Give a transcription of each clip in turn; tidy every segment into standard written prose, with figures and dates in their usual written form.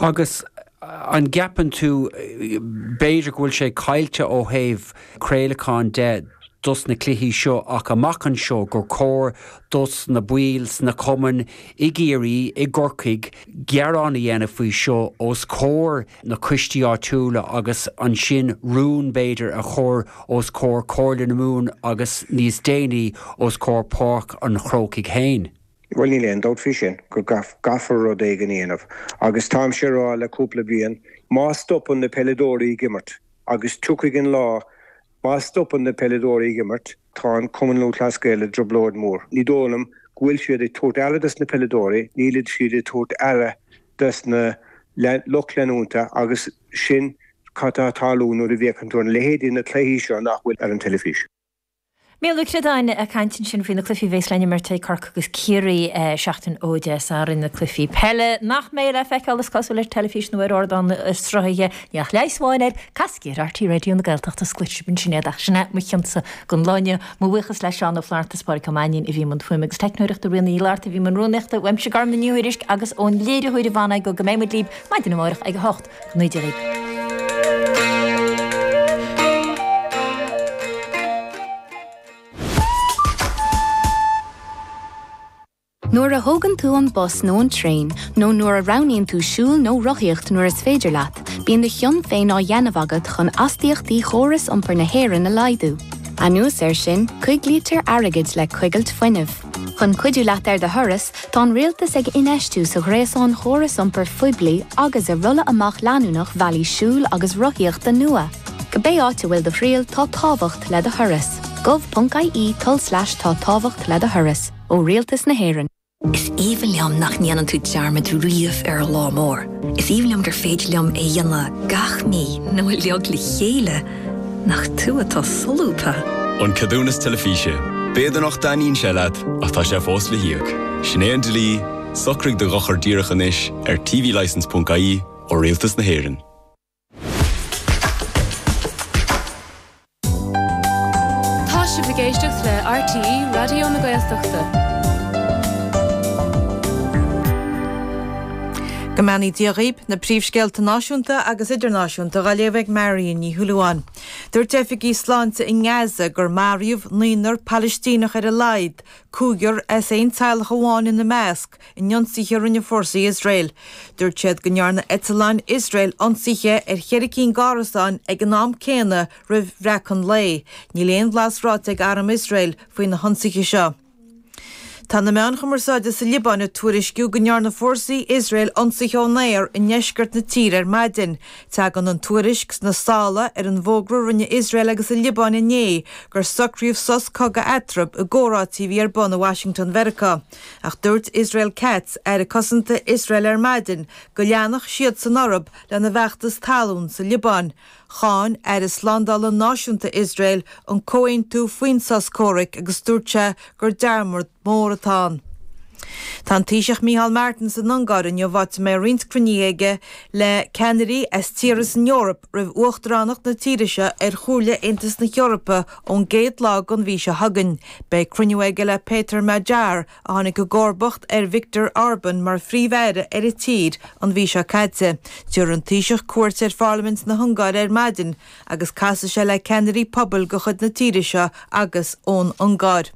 Agus an gceapann tú, b'fhéidir go bhfuil sé caillte ó thaobh craolacháin de dos na cluichí seo ach amach anseo gur chóir dos na baill sna cumainn i gCiarraí, i gCorcaigh, gearán a dhéanamh faoi seo os comhair na coistí áitiúla agus ansin rún b'fhéidir a chur os comhair Comhairle na Mumhan agus níos déanaí os comhair Páirc an Chrócaigh féin. Bhuel, níl aon dabht faoi sin, go gcaithfear rud éigin a dhéanamh. Agus táimse ag rá le cúpla bliain, má stopann na peileadóirí ag imirt, agus tiocfaidh an lá, má stopann na peileadóirí ag imirt, tá an Cumann Lúthchleas Gael i dtrioblóid mhór. Ní dóigh liom go bhfuil siad ag tabhairt aire dos na peileadóirí, níl siad ag tabhairt aire dos na lucht leanúnta agus sin cad tá ag tarlú nuair a bhféachann tú ar na leithéidí na cluichí seo nach bhfuil ar an teilifís. Mícheál Ó Ciodáin ag caint ansin faoi na cluichí a bheas le n-imirt ag Corcaigh agus Ciarraí seachtain ó Dé Sathairn, na cluichí peile nach mbeidh le feiceáil is cosúil ar teilifís nó ar ardán sruthaithe. Níl ach leigheas amháin air, casaigí ar RTÉ Raidió na Gaeltachta is cloisfidh sibh ansin iad ach sin é mo chionsa don lá inniu. Mo bhuíochas le Seán Ó Flaithearta is Pádraig Ó Mainnín a bhí i mbun fuaime agus teicneoireachta, Ríona Ní Fhlatharta a bhí i mbun rúnaíochta, uaimse Gormfhlaith Ní Thuairisg agus ón léiritheoir Yvonne Igoe go mbeidh muid libh maidin amárach ag 8. Go mbeidh Dia libh. Nuair a thógann tú an bus nó an traein, nó nuair a roghnaíonn tú siúl nó rothaíocht nuair is féidir leat, bíonn do chion féin á dhéanamh agat chun astaíochtaí chóras iompair na hÉireann a laghdú. Anuas air sin, coiglítear airgead le coigilt fuinnimh. Chun cuidiú leat ar do thuras, tá an Rialtas ag infheistiú sa ghréasán chóras iompair phoiblí agus i rolladh amach leanúnach bhealaí siúil agus rothaíochta nua. Cibé áit a bhfuil do thriall, tá tábhacht le do thuras. gov.ie tulslais tá tábhacht le do thuras. Ó Rialtas na hÉireann. Is aoibhinn liom nach ndéanann tú dearmad riamh ar an lá mór. Is aoibhinn liom gur féidir liom é a dhéanamh gach mí nó uilig le chéile. Nach tú atá solúbtha! An Ceadúnas Teilifíse. B'fhéidir nach dtaitníonn sé leat, ach tá sé fós le híoc. Sin é an dlí, socraigh do dhochar díreach anois ar tvlicence.ie ó Rialtas na hÉireann. Tá sibh ag éisteacht le RTÉ Raidió na Gaeltachta. Go mbeannaí Dia dhaoib, na príomhscéalta náisiúnta agus idirnáisiúnta á léamh ag Marion Ní Shúilleabháin. Dúirt oifigigh sláinte i nGaza gur maraíodh naonúr Palaistíneach ar a laghad, cúigear as aon teaghlach amháin ina measc, in ionsaithe a rinne fórsaí Iosrael. Dúirt siad go ndearna eitleáin Iosrael ionsaithe ar cheithre cinn d'árasáin ag an am céanna roimh bhreacadh an lae. Níl aon bhlas ráite ag arm Iosrael faoi na hionsaithe seo. Tá na meáin chumarsáide sa Liobáin ag tuairisciú go ndearna fórsaí Iosrael ionsaithe ón aer i ndeisceart na tíre ar maidin. Tagann an tuairisc sna sála ar an bhfógra a rinne Iosrael agus an Liobáin inné gur socraíodh sos cogaidh eatarthu i gcomhráití a bhí ar bun i Washington Mheiriceá. Ach dúirt Israel Katz, Aire Cosanta Iosrael ar maidin go leanfadh siadsan orthu lena bhfeachtas talún sa Liobáin. Cháin Aire Slándála Náisiúnta Iosrael an comhaontú faoin sos comhraic agus dúirt sé gur dearmad mór atá ann. Tá an Taoiseach Micheál Martin san Ungáir inniu áit a mbeidh roinnt cruinnithe aige le ceannairí as tíortha san Eoraip roimh uachtaránacht na tíre seo ar Chomhairle Aontas na hEorpa ón gcéad lá den mhí seo chugainn. Beidh cruinniú aige le Péter Magyar, a tháinig i gcomharbacht ar Viktor Orban mar Phríomh-Aire ar an tír an mhí seo caite. Tabharfaidh an Taoiseach cuairt ar Pharlaimint na hUngáire ar maidin agus casfaidh sé le ceannairí pobail de chuid na tíre seo agus ón Ungáir.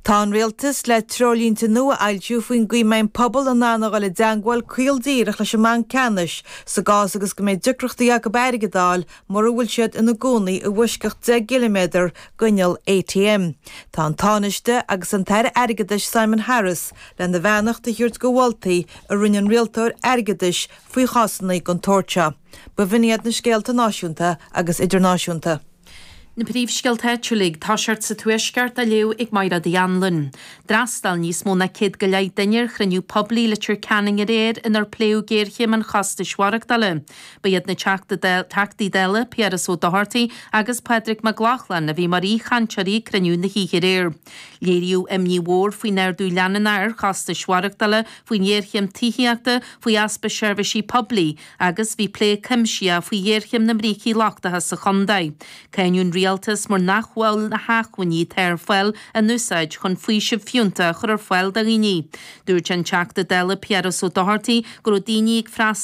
Tá an Rialtas le treoirlínte nua a fhoilsiú faoin gcaoi a mbeidh an pobal in ann a dhul i dteangmháil caol díreach leis an mBanc Ceannais sa gcás agus go mbeidh deacrachtaí acu airgead a fháil mura bhfuil siad ina gcónaí i bhfoisceacht 10 gciliméadar d'inneall ATM. Tá an Tánaiste agus an tAire Airgeadais Simon Harris lena bheannacht a thabhairt do mholtaí a rinne an Rialtóir Airgeadais faoi chásanna den tsórt seo. B'in iad na scéalta náisiúnta agus idirnáisiúnta. Na príomhscéalta áitiúla ag toiseacht sa Tuaisceart á léamh ag Mairéad Uí Anluain. D'fhreastail níos mó ná 100 go leith duine ar chruinniú poiblí i Leitir Ceanainn aréir inar pléadh géarchéim an chostais mhaireachtála. Ba iad na Teachtaí Dála, Piaras Ó Dochartaigh agus Pádraig Mac Lochlainn a bhí mar aoichainteoirí ag cruinniú na hoíche aréir. Léiríodh imní mhór faoin ardú leanúnach ar chostais mhaireachtála, faoin ghéarchéim tithíochta, faoi easpa seirbhísí poiblí agus bhí plé cuimsitheach faoi ghéarchéim na mbrící lochtacha sa chontae. Cáineadh an rialtas mar nach bhfuil na hacmhainní atá ar fáil á n-úsáid chun faoiseamh fiúntach a chur ar fáil do dhaoine. Dúirt an Teachta Dála Piaras Ó Dochartaigh go raibh daoine ag freastal.